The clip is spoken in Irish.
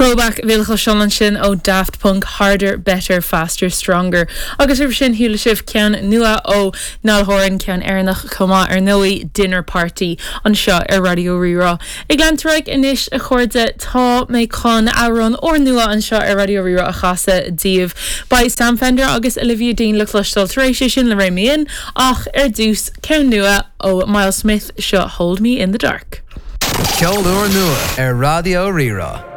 Throwback a bhí le cloisteáil ansin ó Daft Punk, Harder, Better, Faster, Stronger. Agus roimhe sin chuala sibh ceann nua ó Niall Horan, ceann Éireannach chomh maith ar ndóigh, Dinner Party, anseo ar Raidió Rí-Rá. Ag leanúint ar aghaidh anois a chairde, tá mé chun amhrán úrnua anseo ar Raidió Rí-Rá a chasadh daoibh. Beidh Sam Fender agus Olivia Dean le cloisteáil tar éis é sin le Rein Me In, ach ar dtús, ceann nua ó Myles Smith, seo Hold Me In The Dark. Ceol úrnua ar Raidió Rí-Rá.